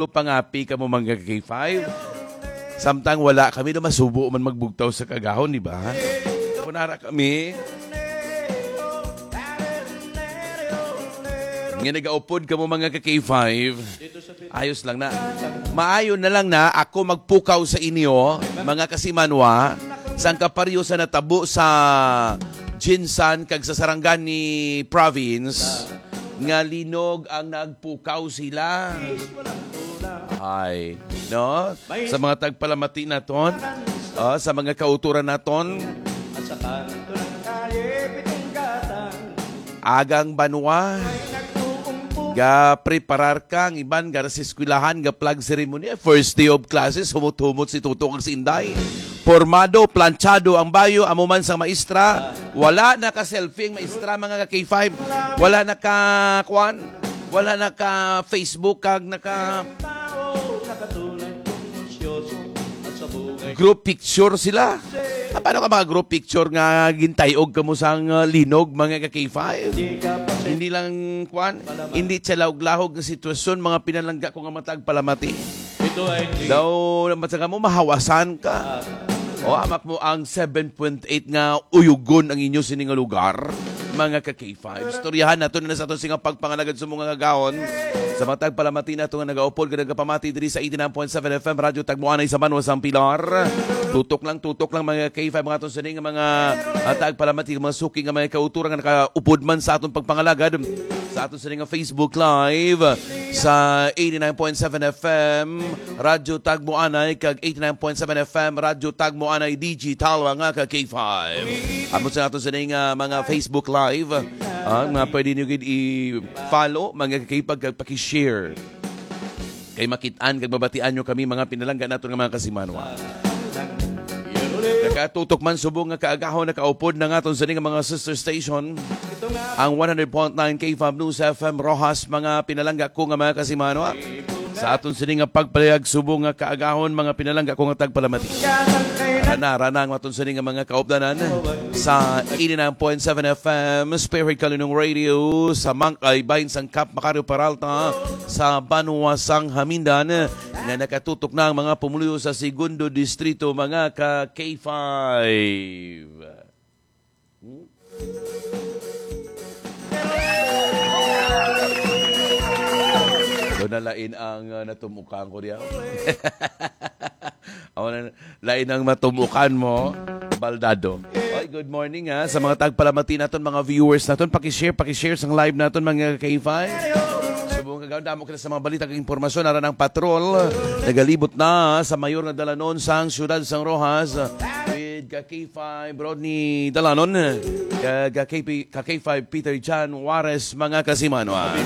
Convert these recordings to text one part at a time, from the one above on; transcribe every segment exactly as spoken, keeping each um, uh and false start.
pangapi kamo, mga K five. Samtang wala kami na masubo man magbugtaw sa kaagahon, di ba? Kunara kami. Nga nagaupod kamo, mga ka K five. Ayos lang na. Maayo na lang na ako magpukaw sa inyo, mga kasimanwa, sang kaparyo sa natabo sa Jinsan kag sa Sarangani province, nga linog ang nagpukaw sila. Ay, no? Sa mga tagpalamati naton, oh, sa mga kauturan naton, agang banwa, ga preparar ka, ang iban gara sa eskwelahan, ga flag ceremony, first day of classes, humot-humot si Tuto kag si Inday. Pormado, planchado ang bayo, amo man sang maestra. Wala na ka selfie ang maestra, mga ka K five. Wala na ka, kwan, wala na ka Facebook kag naka group picture sila. Ah, paano ka mga group picture nga gintayog kamo sang, ah, linog, mga ka K five? Hindi lang, kwan, hindi siya lahog-lahog nga sitwasyon, mga pinalangga ko nga matag palamati. Daw, naman sa kamo, mahawasan ka. O, amak mo ang seven point eight nga uyugon ang inyo sini nga lugar, mga ka K five. Istoryahan nato na sa aton sini nga pagpangalagad sa mga kagahon. Sa mga tagpalamati nato nga nagaupod nga nagapamati diri sa eighty-nine point seven F M Radyo Tagmuanay sa Banwa sang Pilar. Tutok lang, tutok lang, mga K five, mga aton sini nga mga, ah, tagpalamati, mga suki nga mga kauturan nga nakaupod man sa aton pagpangalagad sa aton sini nga Facebook Live sa eighty-nine point seven F M Radyo Tagmuanay kag eighty-nine point seven F M Radyo Tagmuanay Digital, mga ka K five. Amo sa aton sini nga mga Facebook Live, ah, nga pwede niyo gid i-follow, mga ka K five, kag paki-share. Kay makit-an kag mabatian nyo kami, mga pinalangga naton nga mga kasimanwa. Nakatutok man subong nga kaagahon, nakaupod na nga aton sini nga mga sister station, ang one hundred point nine K five News F M Roxas, mga pinalangga ko nga mga kasimanwa. Sa aton sini nga pagpalayag subong nga kaagahon, mga pinalangga ko nga tagpalamati. Rana, rana ang aton sini nga mga kaupdanan sa eighty-nine point seven F M Spirit Kalinong Radio sa Mangkay, bahin sang Kap Macario Peralta, sa Banwa sang Hamindan, nga nakatutok na ang mga pumuluyo sa Segundo Distrito, mga ka K five. Hmm? Doon na lain ang, uh, natumukan ko diyan. Ako na, lain ang matumukan mo, Baldado. Oy, good morning, ha, sa mga tagpalamati naton, mga viewers naton. Paki-share, paki-share sang live naton, mga K five. Subong kagaw, damo kita sa mga balita kag impormasyon. Aran ang patrol, nagalibot na sa mayor nga dalanon sang siyudad sang Roxas. With ka K five Rodney Dalanon, ka, ka K P, ka K five Peter John Juarez, mga kasimanwa.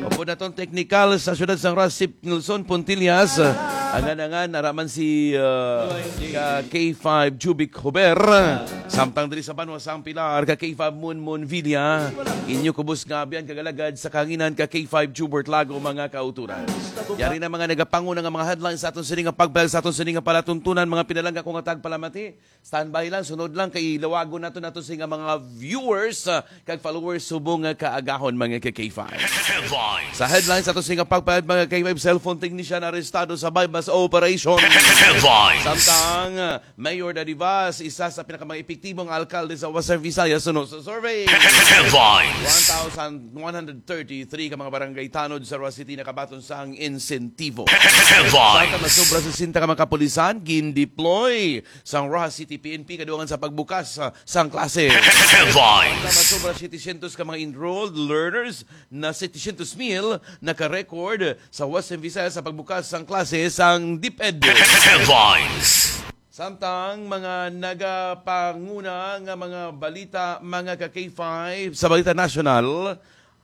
Upod naton teknikal sa siyudad sang Roxas, Nelson Puntillas. Angan-angan, ara man si, uh, ka K five Jubic Huber. Samtang diri sa Banwa sang Pilar, ka K five Munmun Villa. Inyo kubos nga abyan kag alagad sa kahanginan, ka K five Jubert Lago, mga kauturan. Yari na mga nagapanguna nga mga headlines sa aton sini nga pagbayag, sa aton sini nga palatuntunan, mga pinalangga ko nga tagpalamati. Standby lang, sunod lang kay lawagon nato nato sini nga mga viewers, ah, kag followers subong nga kaagahon, mga ka K five. Headlines. Sa headlines ato sini nga pagpayag, mga K five, cellphone technician arestado sa buy-bust operation. Headlines. Samtang, ah, Mayor Daddy Vaz, isa sa pinakamaepektibo nga alkalde sa Western Visayas suno sa survey. Headlines. One thousand one hundred thirty-three ka mga barangay tanod sa Roxas City nakabaton sang insentibo. Headlines. Samtang masobra sesenta ka mga kapulisan gin-deploy sang Roxas City P N P kadugangan sa pagbukas, ah, sang klase. Headlines. Samtang masobra setecientos ka mga enrolled learners na setecientos mil naka-record sa Western Visayas sa pagbukas sang klase sang DepEd. Headlines. Samtang mga nagapanguna nga mga balita, mga ka K five, sa balita nasyonal,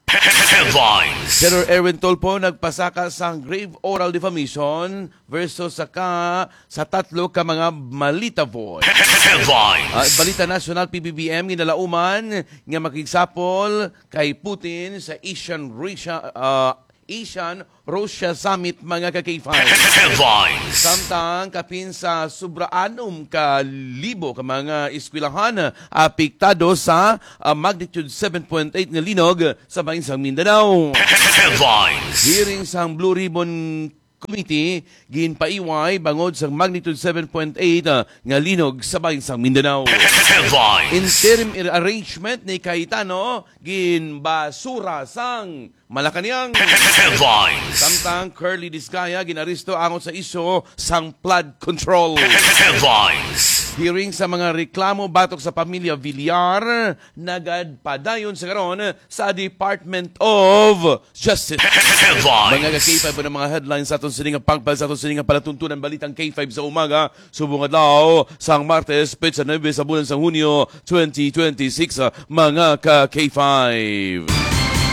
Headlines. General Erwin Tulfo nagpasaka sang grave oral defamation versus sa ka, sa tatlo ka mga Malita Voice. Headlines. Ah, balita nasyonal, P B B M ginalauman nga makigsapol kay Putin sa Asian Russia, ah, Asian Russia Summit, mga ka K five. Headlines. Samtang kapin sa sobra anom ka libo ka mga eskwelahan apektado sa, ah, magnitude seven point eight nga linog sa bahin sang Mindanao. Headlines. Hearing sang Blue Ribbon Committee ginpaiway bangod sa magnitude seven point eight, ah, nga linog sa bahin sang Mindanao. Headlines. Interim arrangement ni Cayetano ginbasura sang Malacañang. Headlines. Samtang Curly Discaya ginaresto angot sa isyu sang flood control. Headlines. Hearing sa mga reklamo batok sa pamilya Villar nagapadayon sa karon sa Department of Justice. Headlines. Mga ka-K five, ang mga headlines sa aton sining nga pagpal, sa aton sining nga palatuntunan, balitang K five sa umaga, subong adlaw sang Martes, petsa nuebe sa bulan sang Hunyo twenty twenty-six, ah, mga ka-K five.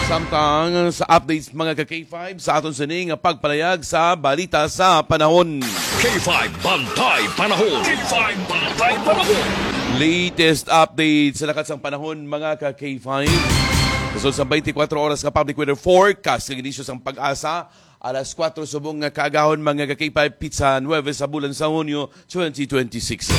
Samtang sa updates, mga ka-K five, sa aton sining nga pagpalayag sa balita sa panahon. K five Bantay Panahon. K five Bantay Panahon. Latest update sa lakat sang panahon, mga ka-K five. Sa sulod sang twenty-four oras nga public weather forecast nga ginisyu sang PAGASA, alas kuwatro subong nga kaagahon, mga ka-K five, petsa nuebe sa bulan sa Hunyo twenty twenty-six.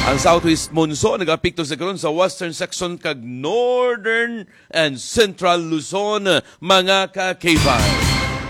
Ang southwest monsoon nag-apekto sa karon sa western section kag northern and central Luzon, mga ka-K five.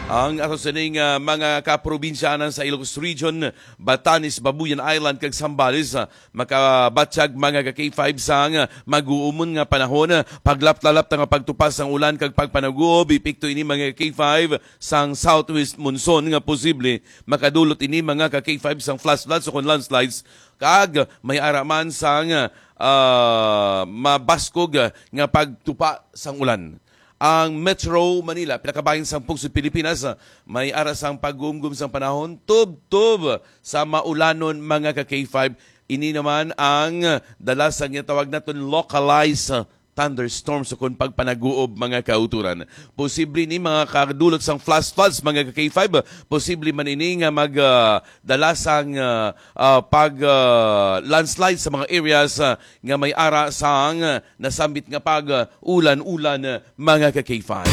Ang ato sining, ah, mga kaprobinsyanan sa Ilocos Region, Batanes, Babuyan Island, kag Zambales, ah, makabatyag, mga ka-K five, sang mag-uumon nga panahon, paglaptalap nga pagtupas sang ulan kag pagpanaguob. Epekto ini, mga ka-K five, sang southwest monsoon nga posible makadulot ini, mga ka-K five, sang flash floods o kon landslides, kag may ara man sang, ah, mabaskog nga pagtupa sang ulan. Ang Metro Manila, pinakabahin sang pungsod Pilipinas, ah, may ara sang pagumgum sang panahon, tubtob sa maulanon, mga ka-K five. Ini naman ang dala sa ginatawag naton localized, ah, thunderstorms o kon pagpanaguob, mga kauturan. Posible ni mga kadulot sang flash floods, mga ka-K five. Posible man ini nga mag, ah, dala sang, ah, ah, pag, ah, landslide sa mga areas, ah, nga may ara sang, ah, nasambit nga pag, ah, ulan-ulan, ah, mga ka-K five.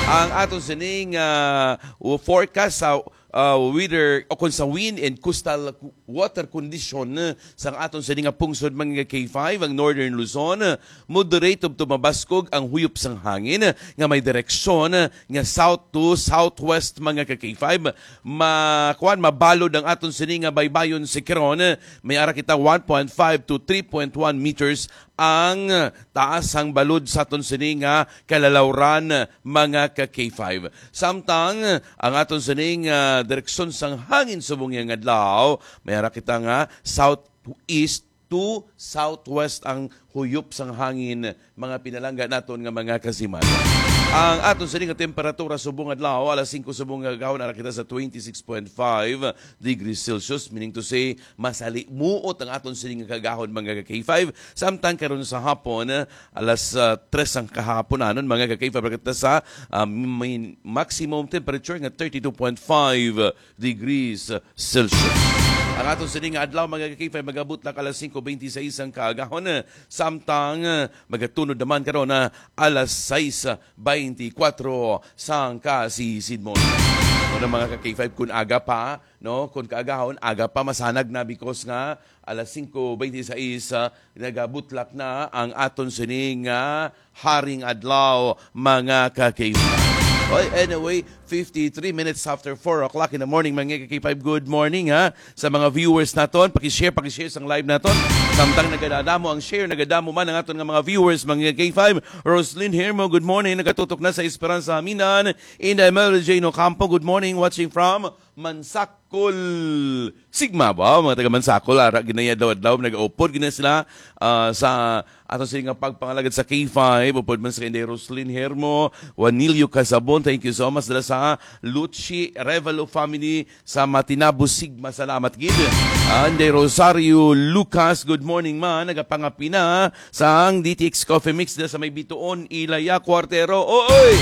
Ang aton sining, ah, forecast sa, ah, weather o kon sa wind and coastal water condition sang aton sini nga pungsod, mga ka-K five, ang Northern Luzon, moderate tubtob mabaskog ang huyop sang hangin nga may direksyon nga south to southwest, mga ka-K five. Ma-, kuwan, mabalod ang aton sini nga baybayon si Kiron. May ara kita one point five to three point one meters ang taas sang balod sa aton sini nga kalalawran, mga ka-K five. Samtang ang aton sini nga direksyon sang hangin subong nga adlaw, may ara kita nga southeast to southwest ang huyop sang hangin, mga pinalangga naton nga mga kasiman. Ang aton sini nga temperatura subong adlaw, alas singko subong nga gahon, ara kita sa twenty-six point five degrees Celsius, meaning to say, masalimuot ang aton sini nga kagahon, mga ka-K five. Samtang karon sa hapon, alas, ah, tres ang kahaponanon, mga ka-K five, kita sa, ah, min-, maximum temperature nga thirty-two point five degrees Celsius. Ang aton sini nga adlaw, mga ka-K five, magabot lang alas singko bente seis ang kaagahon, samtang, ah, magatunod naman karon na alas sais bente kuwatro sang kasisidmon. Ano, mga ka-K five, kung aga pa, no, kung kaagahon, aga pa, masanag na because nga alas singko bente seis, ah, nagabutlak na ang aton sini nga haring adlaw, mga ka-K five. Oy, anyway, fifty-three minutes after four o'clock in the morning, mga ka-K five, good morning, ha. Sa mga viewers naton, paki-share, paki-share sang live naton. Samtang nagadadamo ang share, nagadamo man ang aton nga mga viewers, mga ka-K five. Roslyn Hermo, good morning, nagatutok na sa Esperanza Haminan. Inday Mel Jane Ocampo, good morning, watching from Mansakol, Sigma ba? Mga taga Mansakol, ara, ginaya daw adlaw, nag-upod gina sila, ah, sa ato sila nga pagpangalagad sa K five, upod man sa Inday Roslyn Hermo, Juanilio Casabon, thank you so much. Dala sa Luchi Revalo family sa Matinabo, Sigma, salamat gid. Ah, Inday Rosario Lucas, good morning, ma. Nagapangapina sang D T X Coffee Mix dala sa may Bituon, Ilaya, Cuartero. Oy!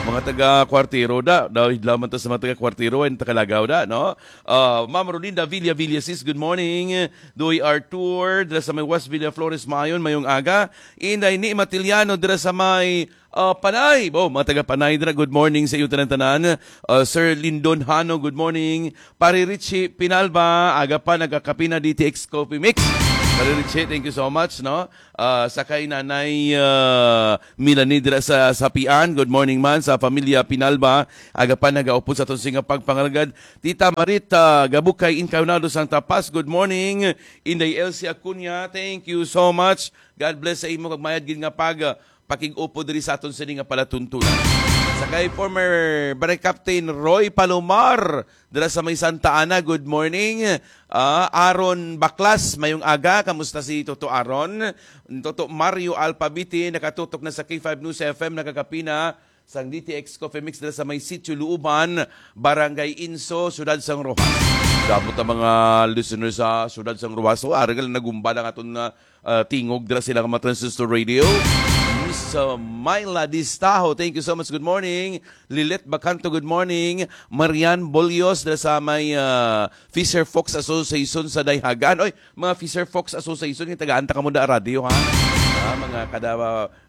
Mga taga Cuartero da, daw idlaw man to sa mga taga Cuartero, ay tagalagaw da, no? Ah, Ma'am Rolinda Villa Villasis, good morning. Doy Artur, dira sa may West Villa Flores, maayon, mayong aga. Inday ni Matiliano, dira sa may, ah, Panay. Oh, mga taga Panay, dira, good morning sa iyo tanan-tanan. Ah, Sir Lindon Hano, good morning. Pare Richie Pinalba, aga pa, nagakapina D T X Coffee Mix. Pare Richie, thank you so much, no? Ah, sa kay Nanay, ah, Melanie dira sa Sapian. Good morning man sa pamilya Pinalba. Aga pa nagaupod sa aton sining pagpangalagad. Tita Marita Gabukay Incaunado sang Tapas. Good morning. Inday Elsie Acuña, thank you so much. God bless sa imo kag mayad gid nga pag, ah, pakig-upod diri sa aton sini nga palatuntunan. Sa kay former Barangay Captain Roy Palomar, dira sa may Santa Ana, good morning. Ah, Aaron Baklas, mayong aga. Kamusta si Toto Aaron? Toto Mario Alpabiti, nakatutok na sa K five News F M, nagakapina sang D T X Coffee Mix dira sa may Sitio Luuban, Barangay Inso, Siyudad sang Roxas. Sabot ang mga listeners sa Siyudad sang Roxas. So, aragal nagumba lang aton nga ah, tingog dira sila nga mga transistor radio. Miss, ah, Myla Distaho, thank you so much. Good morning. Lilet Bacanto, good morning. Marian Bolios dira sa may, ah, Fisher Fox Association sa Dayhagan. Oy, mga Fisher Fox Association, yung tagaan ta kamo da radyo, ha? Ah, mga kada,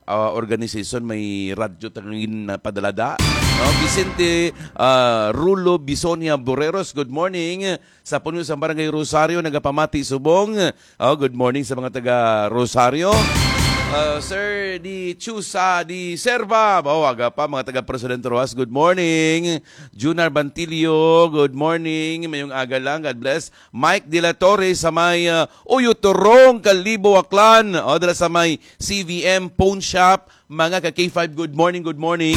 ah, organization may radyo tangin na padalada. No? Vicente, ah, Rulo Bisonia Boreros, good morning. Sa puno sang Barangay Rosario, nagapamati subong. Oh, good morning sa mga taga Rosario. Uh, Sir Di Chusa Di Serva. Oh, aga pa, mga taga President Rojas. Good morning. Junar Bantilio, good morning. Mayong aga lang. God bless. Mike De La Torre sa may, uh, Uyotorong, Kalibo, Aklan. Oh, dala sa may C V M Pawn Shop. Mga ka K five, good morning, good morning.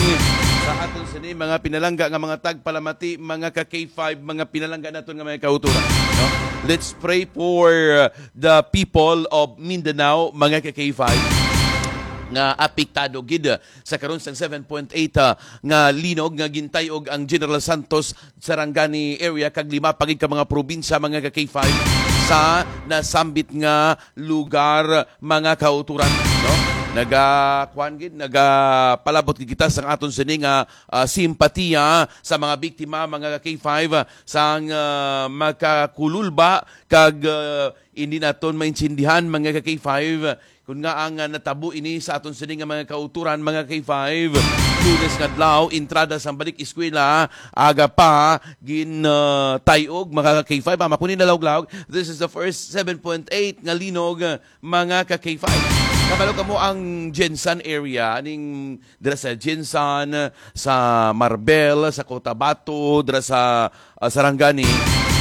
Sa aton sini, mga pinalangga nga mga tagpalamati, mga ka K five, mga pinalangga naton nga mga kauturan, no? Let's pray for, uh, the people of Mindanao, mga ka K five, nga apektado gid sa karon sang seven point eight, uh, nga linog nga gintay-og ang General Santos Sarangani area kag lima pa gid ka mga probinsya, mga ka K five, sa nasambit nga lugar, mga kauturan, no? Naga, kuwan gid, nagapalabot gid kita sang aton sini nga, ah, simpatiya sa mga biktima, mga ka K five, ah, sang, ah, makakululba kag, ah, hindi naton maintindihan, mga ka K five, kun nga ang, ah, natabo ini sa aton sini nga mga kauturan, mga ka K five. Lunes nga adlaw, entrada sang balik eskwela, aga pa gin, ah, tay-og, mga ka K five. Ama ko ni nalawg-lawg, this is the first seven point eight nga linog, mga ka K five. Kabalo kamo ang Gensan area, ning dira sa Gensan, sa Marbel, sa Cotabato, dira sa, ah, Sarangani.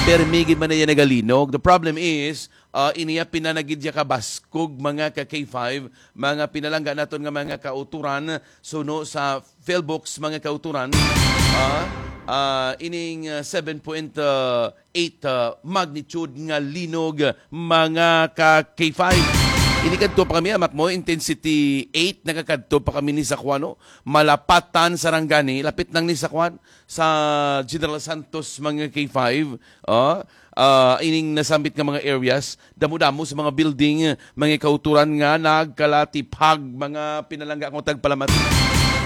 Permi gid man niya nagalinog. The problem is, ah, iniya pinanagid siya kabaskog, mga ka K five, mga pinalangga naton nga mga kauturan, suno sa Philbooks, mga kauturan, ah, ah, ining, ah, seven point eight, ah, magnitude nga linog, mga ka K five. Ini kadto pa kami, amak mo, intensity eight, nakakadto pa kami ni sa kuwan, no? Malapatan, Sarangani, lapit lang ni sa kuwan, sa General Santos, mga K five. Ah, ah, ining nasambit nga mga areas, damo-damo sa mga building, mga kauturan nga nagkalatiphag, mga pinalangga akong tagpalamat.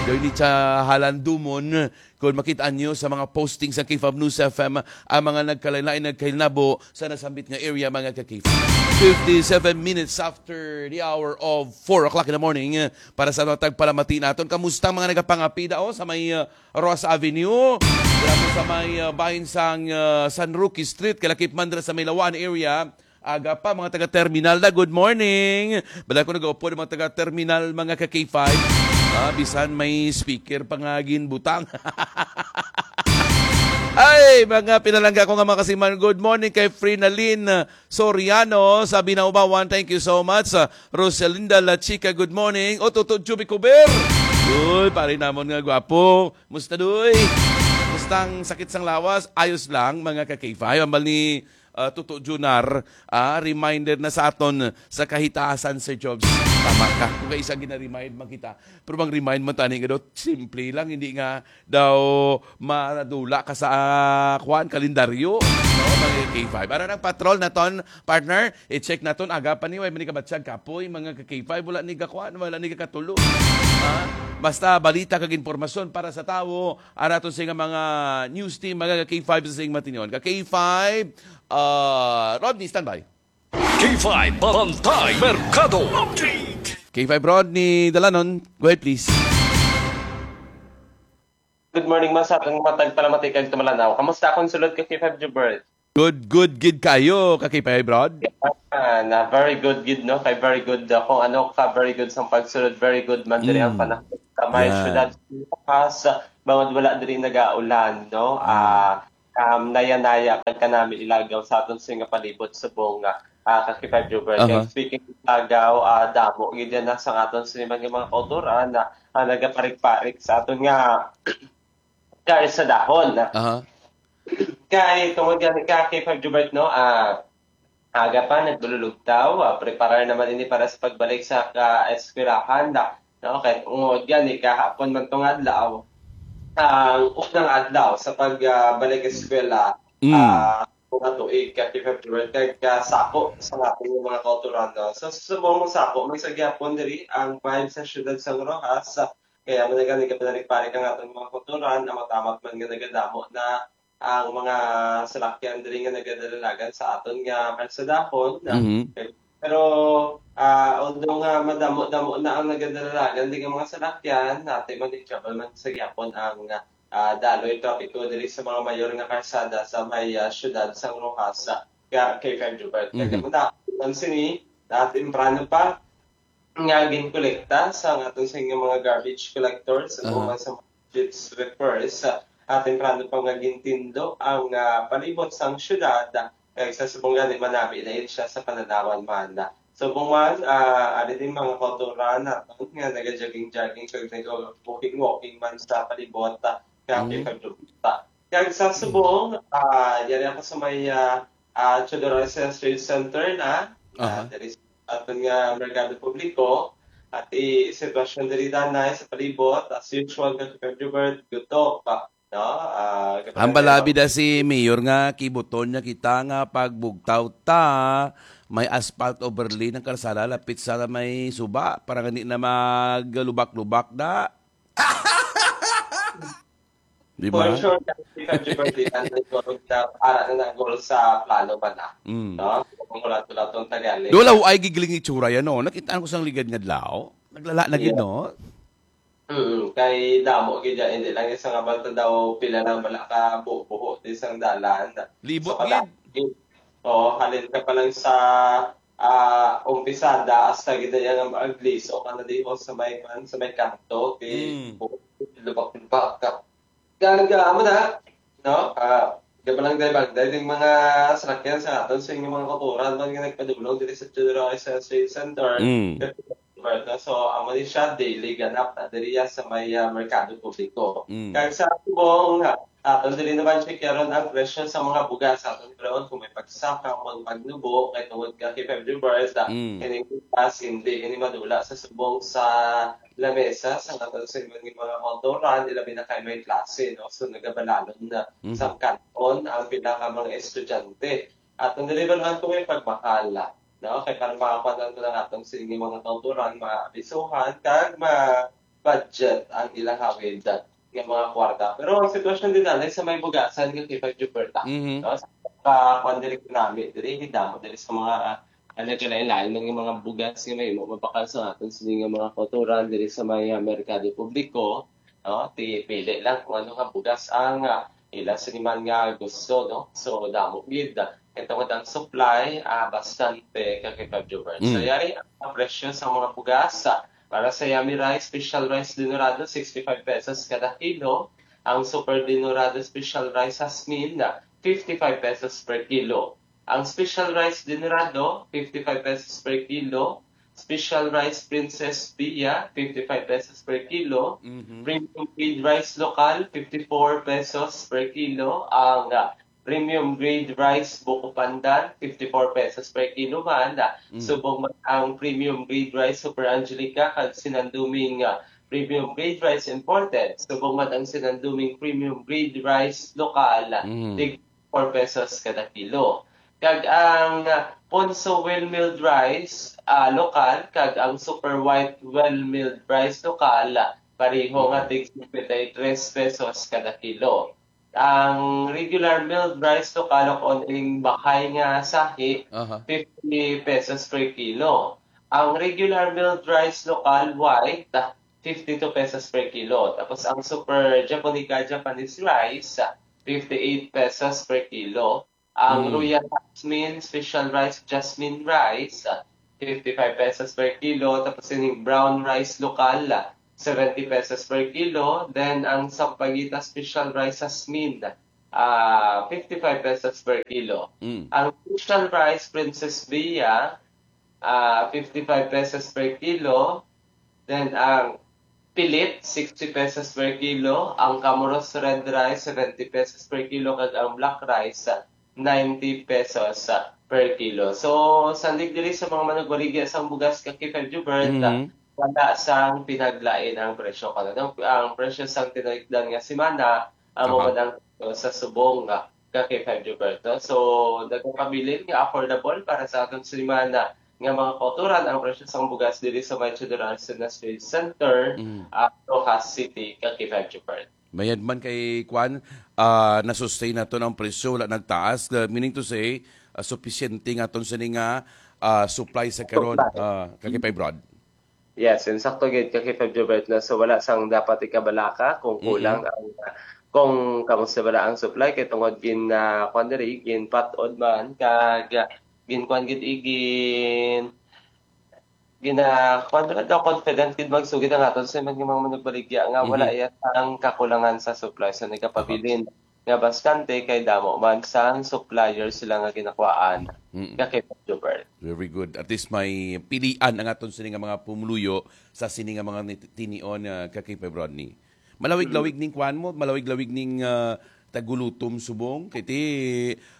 Daw ini sa Halandumon, kung makita nyo sa mga posting sa K five News F M, ang mga nagkalain-lain nagkahinabo sa nasambit nga area, mga ka-K five. Fifty-seven minutes after the hour of four o'clock in the morning, para sa mga tagpalamati naton. Kamusta ang mga nagapangapida, oh, sa may, uh, Ross Avenue? Grabe sa may, uh, bahin sang, uh, San Roque Street, kalakip man dira sa may Lawan area. Aga pa, mga taga-terminal na, good morning. Bala ko nag-upo ng mga taga-terminal, mga ka-K five. Ah, bisan may speaker pa nga ginbutang. Ay, mga pinalangga ko nga mga kasiman, good morning kay Frinalin Soriano sa Binaubawan. Thank you so much. Ah, Rosalinda La Chica, good morning. O, Toto Juby Cuber. Uy, pare namon nga gwapo. Musta, doy? Musta ang sakit sang lawas? Ayos lang, mga ka-K five. Ambal ni, ah, Toto Junar, ah, reminder na sa aton sa kahitaasan, Sir Jobs. Tama ka. Kung kaisa gina-remind man kita. Pero bang remind man tani nga daw, simple lang, hindi nga daw madula ka sa, ah, kuwan, kalendaryo, no? Mga K five. Ano nang patrol naton, partner? I-check naton, aga pa ni, way man ni kabatyag kapoy, mga ka K five, wala ni kakuan, wala ni kakatulo. Ha? Basta balita kag impormasyon para sa tawo, ara to sa mga news team, mga ka K five sa sing matinyon. Ka K five, ah, Rodney, standby. K five Bantay Merkado. K five Rodney Dalanon, go ahead please. Good morning, man, sa atong mga tagpalamati kag tumalanaw. Kamusta akong sulod ka K five Jubert? Good, good gid kayo, ka K five Rod. Ah, na very good gid, no? Kay very good, uh, kung ano ka, very good sa pagsulod, very good man diri ang Mm. panahon sa may Yan. syudad sa Roxas, bangod wala diri nagaulan, no? Mm. Ah, um, naya-naya kag kanami ilagaw sa aton sa nga palibot subong, ah, ah, ka K five Jubert. Kay Aha. speaking of lagaw, ah, damo gid yan na sa aton sa mga, mga kauturan na, ah, nagaparik-parik sa aton nga kay sa dahon. Aha. Kay tungod gani ka K five Jubert, no, ah, aga pa naglululugtaw, ah, preparar naman ini para sa pagbalik sa ka-eskwelahan na, no, kay tungod gani kahapon man tong adlaw, ang unang adlaw sa pag, ah, balik eskwela, Mm. ah, mga tuig ka K five Jubert, kay kasako sa aton nga mga kauturan, no. So, subong masako man sa gihapon diri ang vibe sa siyudad sang Roxas, kaya man gani gaparik-parik ang aton mga kauturan, ang matamat man nga nagadamo na ang mga salakyan diri nga nagadalalagan sa aton nga kalsadahon. Mhm. Pero, ah, although nga madamo-damo na ang nagadalalagan diri nga mga salakyan, nati man i-travel man sa gihapon ang, ah, daloy trapiko diri sa mga mayor nga kalsada sa may, ah, siyudad sang Roxas, ah, ka K five Jubert. Kaya Mhm. mo na, man sini, na temprano pa, nga ginkolekta sa aton sa mga garbage collectors, Aha. o man sa street sweepers, ah, temprano pa nga gintindo ang, ah, palibot sang syudad, ah, kag sa subong gani manami na siya sa pananawan man. Subong man, ah, ari din mga kauturan naton nga nagajogging-jogging kag nag-walking-walking man sa palibot, ah, kag Mm. kag kag sa subong, ah, yari ako sa may, ah, ah, Teodoro Islas Trade Center na, ah, Aha. diri sa aton nga merkado publiko, at i sitwasyon diri danay sa palibot, as usual, ka Jubert, guto pa, no? Ah, Ang balabi na si Mayor nga kibuton niya kita nga pagbugtaw ta, may asphalt overlay ng kalsada lapit sa may suba para hindi na maglubak-lubak na. Di For ba? Sure, ka Jubert, di na nagkaroon na para na nagol sa plano ba na? Mm. No? Kung wala to lang tong tagali. Doon lang ay gigiling itsura yan, no? Nakitaan ko sang ligad nga adlaw. Naglala na gid, Yeah. No? Mm, kay damo gid yan, hindi lang isa nga balta daw pila lang bala ka buho-buho di sang dalan. Libot So, kada, gid. Oo, halin ka pa lang sa, ah, umpisada, hasta gid yan ang agliso ka na di ho sa may, man, sa may kanto, kay Mm. lubak-lubak ka. Kaya, amo na, no? Ah, gabalang day bag, day ding mga salakyan sa aton sa inyong mga kauturan man nga nagpadulong diri sa Teodoro Islas Trade Center. Mm. Right, no? So, amo ni siya, daily ganap na diri ya sa may, ah, merkado publiko. Mm. Kag sa subong, ah, aton diri naman check karon ang presyo sa mga bugas. Aton karon kung may pagsaka o ang pagnubo, kay tungod ka K five Jubert, ah, Mm. kining bugas, hindi ini madula sa subong sa lamesa sa aton sa mga, mga kauturan, ilabi na kay may klase, no? So, nagabalalon na Mhm. sa kanton ang pila ka mga estudyante. Aton diri naman kung may pagmahal, no? Kay para makakuha lang atong sa inyong mga kauturan, maabisuhan, kag ma-budget ang ilang hawid nga mga kwarta. Pero ang sitwasyon din na sa may bugasan nga K five Jubert, Mhm. no? Sa pa, kwan diri nami, diri, damo diri sa mga, ah, nagkalain-lain nga mga bugas nga may mabakal sa aton sini nga mga kauturan diri sa may, ah, merkado publiko, no? Ti pili lang kung ano nga bugas ang, ah, ila sini man nga gusto, no? So, damo gid. Ito nga ang supply, ah, bastante ka K five Jubert. So, Mm. yari ang presyo sa mga bugas, ah, para sa yummy rice, special rice dinurado, sixty-five pesos kada kilo. Ang super dinurado special rice jasmine, ah, fifty-five pesos per kilo. Ang special rice dinurado, fifty-five pesos per kilo. Special rice Princess Pia, fifty-five pesos per kilo. Mhm. Premium grade rice lokal, fifty-four pesos per kilo. Ang, ah, premium grade rice buko pandan, fifty-four pesos per kilo man. Ah, Mm. Subong man ang premium grade rice Super Angelica kag sinanduming, ah, premium grade rice imported. Subong man ang sinanduming premium grade rice lokal, ah, Mm. tig four pesos kada kilo. Kag ang, ah, Ponso well milled rice, ah, lokal, kag ang super white well milled rice lokal, ah, pareho nga tig fifty-three pesos kada kilo. Ang regular milled rice lokal o kung ining bahay nga sahi, Aha. fifty pesos per kilo. Ang regular milled rice lokal white, ah, fifty-two pesos per kilo. Tapos ang super japonica Japanese rice, ah, fifty-eight pesos per kilo. Ang Mm. Royal Jasmine, special rice, jasmine rice, ah, fifty-five pesos per kilo. Tapos yung brown rice lokal, ah, seventy pesos per kilo. Then, ang Sampaguita special rice, jasmine, ah, fifty-five pesos per kilo. Mm. Ang special rice, Princess Bea, ah, fifty-five pesos per kilo. Then, ang pilit, sixty pesos per kilo. Ang Camoros red rice, seventy pesos per kilo. Kag ang black rice, ah, ninety pesos, ah, per kilo. So, sandig diri sa mga manugbaligya sang bugas, ka K five Jubert, ah, Mhm. wala sang pinaglain ang presyo. Kano, ang presyo sang tinalikdan nga semana, amo Aha. man ang presyo sa subong, ah, ka K five Jubert, no? So, nagapabilin nga affordable para sa aton semana nga mga kauturan ang presyo sang bugas diri sa may Theodore Arcenas Trade Center, Mm. ah, Roxas City, ka K five Jubert. Mayad man kay kwan, ah, na-sustain naton ang presyo, wala nagtaas. Uh, meaning to say, ah, supisyente nga aton sini nga, ah, supply sa karon, Supply. ah, ka K five Rod. Yes, insakto gid ka K five Jubert, na so wala sang dapat ikabalaka kung Mhm. kulang ang, kung kamusta bala ang supply, kay tungod gin, ah, kwan diri, ginpat-od man kag, ah, ginkuan gid igin gina, kuwan, wala daw confident gid magsugid ang aton sa mga, mga manugbaligya nga wala Mhm. iya sang kakulangan sa supply. So, nagapabilin nga baskante kay damo man sang supplier sila nga ginakuhaan Mm. ka K five Jubert. Very good. At least may pilian ang aton sini nga mga pumuluyo sa sini nga mga nit-, tinion, ah, ka K five Rodney. Malawig-lawig ning kuan mo, malawig-lawig ning, ah, tagulutom subong. Kay ti,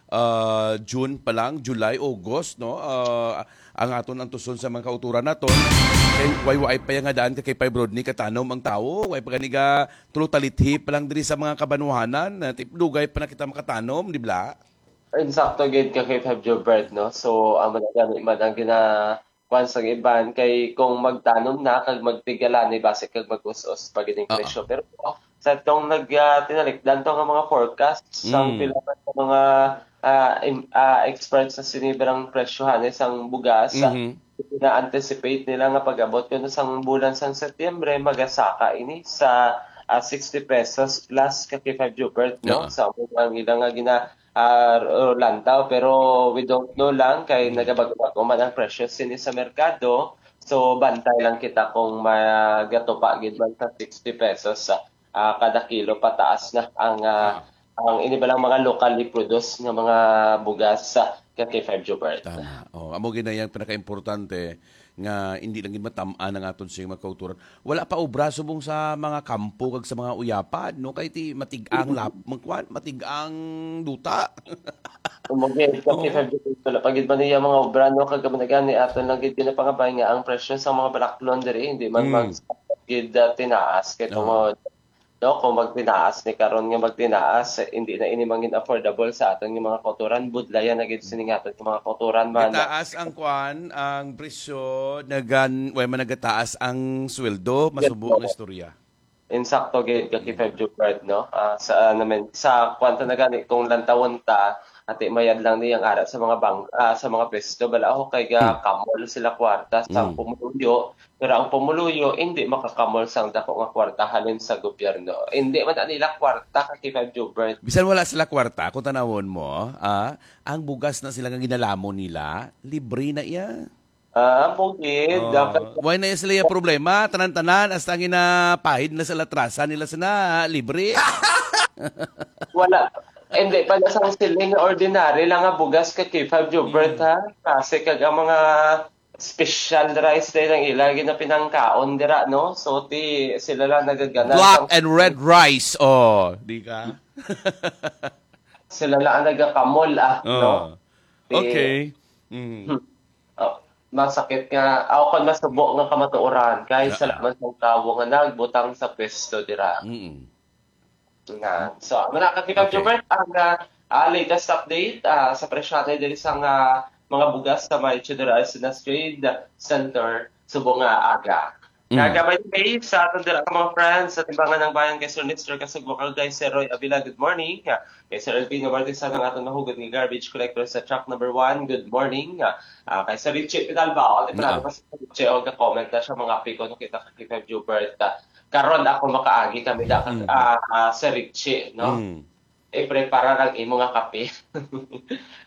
ah, June pa lang, July, August, no? Ah, ang aton antuson sa mga kauturan naton. Kay way, way pa yang nga daan ka K five Rodney katanom ang tawo. Way pa gani ga tulo talithi pa lang diri sa mga kabanwahanan. Ah, ti-, dugay pa na kita makatanom, di ba? Insakto gid ka K five Jubert, no? So, ang mga gani man ang gina-, kuwan sang iban kay kung magtanom na kag magtigalani, basi kag mag-us-us pa gid ang Oo. presyo. Pero sa atong nag, ah, tinalikdan to nga mga forecast, sang Mm. pila man sa mga, ah, im-, ah, experts sa sinibrang presyohan, eh, sang bugas, ah, Mhm. na-anticipate nila nga pag-abot kuno sang bulan sang Setyembre, magasaka ini sa, ah, sixty pesos plus ka K five Jubert, no? Oo. Sa among ang ilang nga gina-, ah, ro-, lantaw, pero we don't know lang kay Mm. nagabago-bago man ang presyo sini sa merkado. So, bantay lang kita kung magatupa gid man sa sixty pesos, ah, ah, kada kilo pataas na ang, ah, Ah. ang ini ba lang mga locally produced nga mga bugas sa ka K five Jubert. Tama. Oh, amo gid na yang pinakaimportante nga hindi lang gid matam-an ang aton sing mga kauturan. Wala pa obra subong sa mga kampo kag sa mga uyapad, no? Kay ti matig-ang lap-, magkuan, matig-ang duta. Amo gid, ka Oo. K five Jubert, wala pa gid man niya mga obra, no? Kag amo na gani aton lang gid ginapangabay nga ang presyo sa mga balaklon diri hindi man Mm. mag-, gid, ah, tinaas kay Oo. tungod No, kung magtinaas ni karon nga magtinaas, hindi na ini mangin affordable sa aton nga mga kauturan, budlayan na gid sini nga aton nga mga kauturan man. Gitaas ang kwan, ang presyo, nagan-, way man nagataas ang sweldo, masubo ang istorya. Insakto gid ka, Mm. K five Jubert, no? Ah, sa, ah, naman, sa kwan ta na gani, kung lantawon ta, ati mayad lang niyang ara sa mga bang-, ah, sa mga pwesto, bala, oh, kay ga Hmm. kamol sila kwarta sa Hmm. pumuluyo, Pero ang pumuluyo indi makakamol sang dako nga kwarta halin sa gobyerno. Indi man na nila kwarta ka K five Jubert. Bisan wala sila kwarta, kung tanawon mo, ah, ang bugas na sila nga ginalamon nila, libre na iya. Ah, amo gid. Oh, dapat why na iya sila yung problema? Tanan-tanan, hasta ang ginapahid na sa latrasan nila sana, libre. Wala. Hindi pa na sang siling nga ordinary lang nga bugas ka K five Jubert, Mm. ha? Kasi kag ang mga special rice day lang ila ginapinangkaon dira, no? So, ti sila lang nagagana Black sang and red rice, oh, di ka? Sila lang ang nagakamol, ah, Oh. no? Ti Okay. Mm. Hmm. Oh, masakit nga, aw, kon masubo nga kamatuoran, kay Yeah. salamat sang tawo nga nagbutang sa pwesto dira. Mm. Nga. So, amo na, Kakita Okay. Jubert, ang, ah, ah, latest update, ah, sa presyo nato diri sa nga mga bugas sa may Theodore Arcenas Trade Center, subong nga aga. Mm. Nga, by the way, sa aton dira ka mga friends, sa Timbangan ng Bayan, kay Sir Nestor Kasugbo, kay Sir Roy Avila, good morning. Ah, kay Sir Elvino Martizan, ang aton mahugod nga garbage collector sa truck number one, good morning. Ah, kay Sir Richie Pidalbao, di pa Ah. natin pa si Sir Richie, o, ga-comment na siya, mga piko, no, kita ka K five Jubert. Ah, karon ako makaagi kami da, Mm. ah, ah, Sir Richie, no? Mm. ipreparar ang imo nga kape.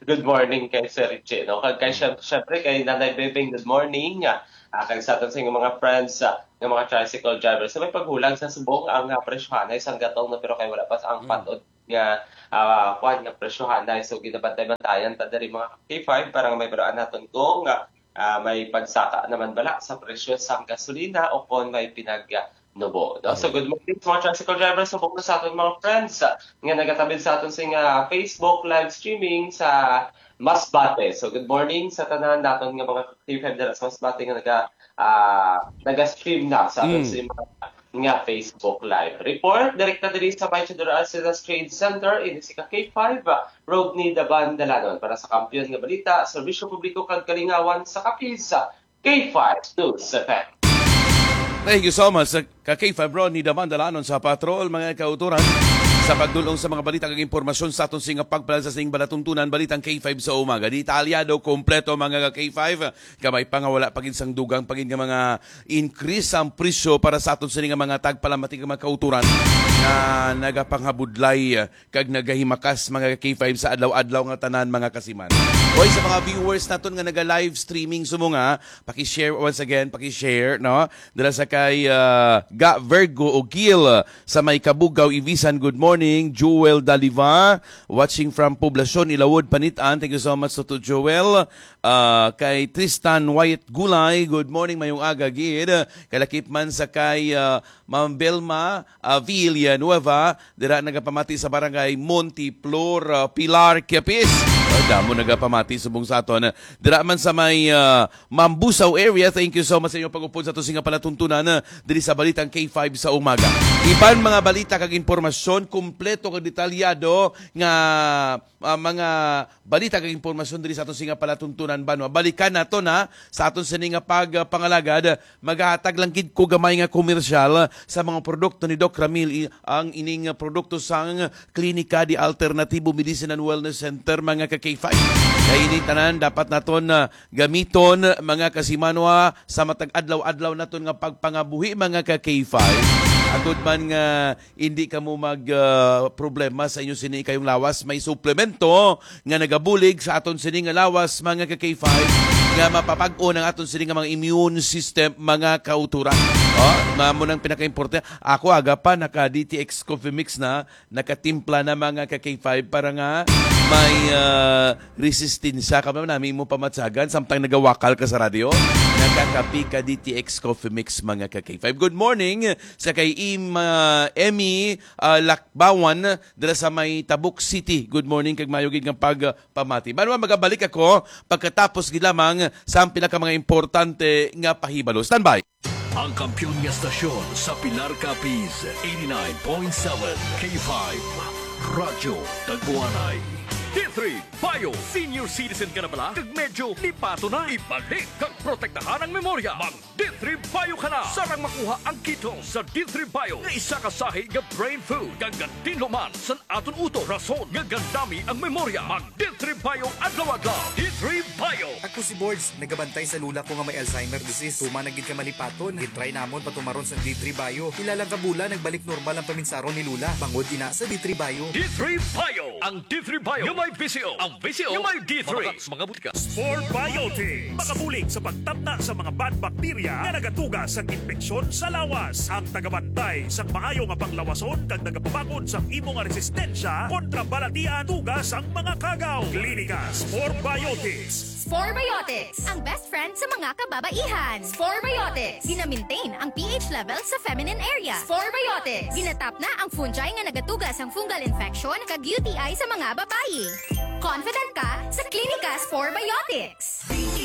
Good morning kay Sir Richie, no? Kag kay, syem-, syempre, kay Nanay Bebeng, good morning. Ah, kag sa aton sa mga friends, ah, nga mga tricycle drivers, sa may paghulag sa subong ang, ah, presyohanay sang gatong, no? Pero kay wala pa sa ang Mm. patod nga, ah, kuwan, nga presyohanay. So, ginabantay-bantayan ta diri, mga K five, para nga may balaan naton kung, ah, ah, may pagsaka naman bala sa presyo sang gasolina o kon may pinag, ah, nubo, no? So, Mm. good morning sa mga tricycle drivers, subong na sa aton mga friends, ah, nga nagatabid sa aton sing, ah, Facebook live streaming sa Masbate. So, good morning sa tanan naton nga mga K five dira sa Masbate nga naga, ah, naga-stream na sa aton Mm. sing mga nga Facebook Live. Report, direkta diri sa may Chedor Arcelas Trade Center, ini si ka K five, ah, Rodney Daban Dalanon. Para sa Kampiyon nga Balita, Serbisyo Publiko kag Kalingawan sa Capiz, K five News F M. Thank you so much, uh, ka K five Rodney Daban Dalanon sa Patrol, mga kauturan. Sa pagdulong sa mga balita kag impormasyon sa aton sing pagpalal sa sing balatuntunan, balitang K five sa umaga. Detalyado, kompleto, mga ka K five. Gamay pa nga wala pa gid sang dugang pa gid nga mga increase ang presyo para sa aton sini nga mga tagpalamati nga mga kauturan nga nagapangabudlay, eh, kag nagahimakas, mga K five, sa adlaw-adlaw nga tanan, mga kasiman. Oy, sa mga viewers naton nga naga-live streaming, sumo nga, paki-share once again, paki-share, no? Dala sa kay, ah, Ga Virgo Ogil, ah, sa may Kabugaw, Ibisan, good morning. Jewel Daliva, watching from Poblacion, Ilawod, Panitan. Thank you so much, Toto Joel. Ah, kay Tristan Wyatt Gulay, good morning, mayong aga gid. Kalakip man sa kay, ah, Ma'am Belma, ah, Villanueva, dira nagapamati sa barangay Monteflor, ah, Pilar, Capiz. Ay, damo nagapamati subong sa aton. Dira man sa may, ah, Mambusao area, thank you so much sa inyong pag-upod sa aton sing palatuntunan, ah, diri sa Balitang K five sa umaga. Iban mga balita kag impormasyon, kompleto kag detalyado nga ah, mga balita kag impormasyon diri sa aton sing palatuntunan, banwa. Balikan naton, ha, sa aton sini nga pag, ah, pangalagad. Magahatag lang gid ko gamay nga komersyal sa mga produkto ni Doc Ramil, i-, ang ining, ah, produkto sang Klinika de Alternativo Medicine and Wellness Center, mga ka K five. Kay ini tanan dapat naton, ah, gamiton, mga kasimanwa, sa matag adlaw-adlaw naton nga pagpangabuhi, mga ka K five. Agod man nga hindi kamo mag, ah, problema sa inyo sini kayong lawas. May suplemento nga nagabulig sa aton sini nga lawas, mga ka K five, nga mapapag-on ang aton sini nga mga immune system, mga kauturan. Oh, mamo nang pinakaimportante. Ako, aga pa, naka D T X Coffee Mix na, nakatimpla na, mga ka K five, para nga may, ah, resistensya ka ba nami mo pamatsagan samtang nagawakal ka sa radyo. Nakakapi ka D T X Coffee Mix, mga ka K five. Good morning sa kay Im-, ah, Emmy, ah, Lakbawan, dira sa may Tabuk City. Good morning kag mayo gid nga pagpamati. Banwa, magabalik ako pagkatapos gid lamang sa ang pinaka mga importante nga pahibalo. Standby. Ang kampiyon nga stasyon sa Pilar, Capiz, eighty-nine point seven K five, Radyo Taguanay. D three Bio. Senior citizen ka na bala? Kag medyo lipato na? Ibalik kag protektahan ang memorya. Mag D three Bio ka na. Sarang makuha ang ketone sa D three Bio nga isa ka sahi nga brain food. Kag gatinlo man sa aton utok, rason nga gandami ang memorya. Mag D three Bio adlaw-adlaw. D three Bio. Ako si Borge, nagabantay sa lula ko nga may Alzheimer disease. Tuman na gid ka malipaton. Gitry namon patumaron sa D three Bio. Pila lang ka bulan, nagbalik normal ang paminsaron ni Lula. Bangod ina sa D three Bio. D three Bio. Ang D three Bio nga may V C O. Ang V C O nga may D three. Mabakal sa mga butika. Spore Biotic. Makabulig sa pagtapna sa mga bad bacteria nga nagatuga sa impeksyon sa lawas. Ang tagabantay sang maayo nga panglawason kag nagapabakod sang imo nga resistensya kontra balatian tuga sang mga kagaw. Klinika Spore Biotics. Spore Biotics, ang best friend sa mga kababaihan. Spore Biotics, gina-maintain ang P H level sa feminine area. Spore Biotics, ginatapna ang fungi nga nagatuga sang fungal infection kag U T I sa mga babayi. Confident ka sa Klinika Spore Biotics.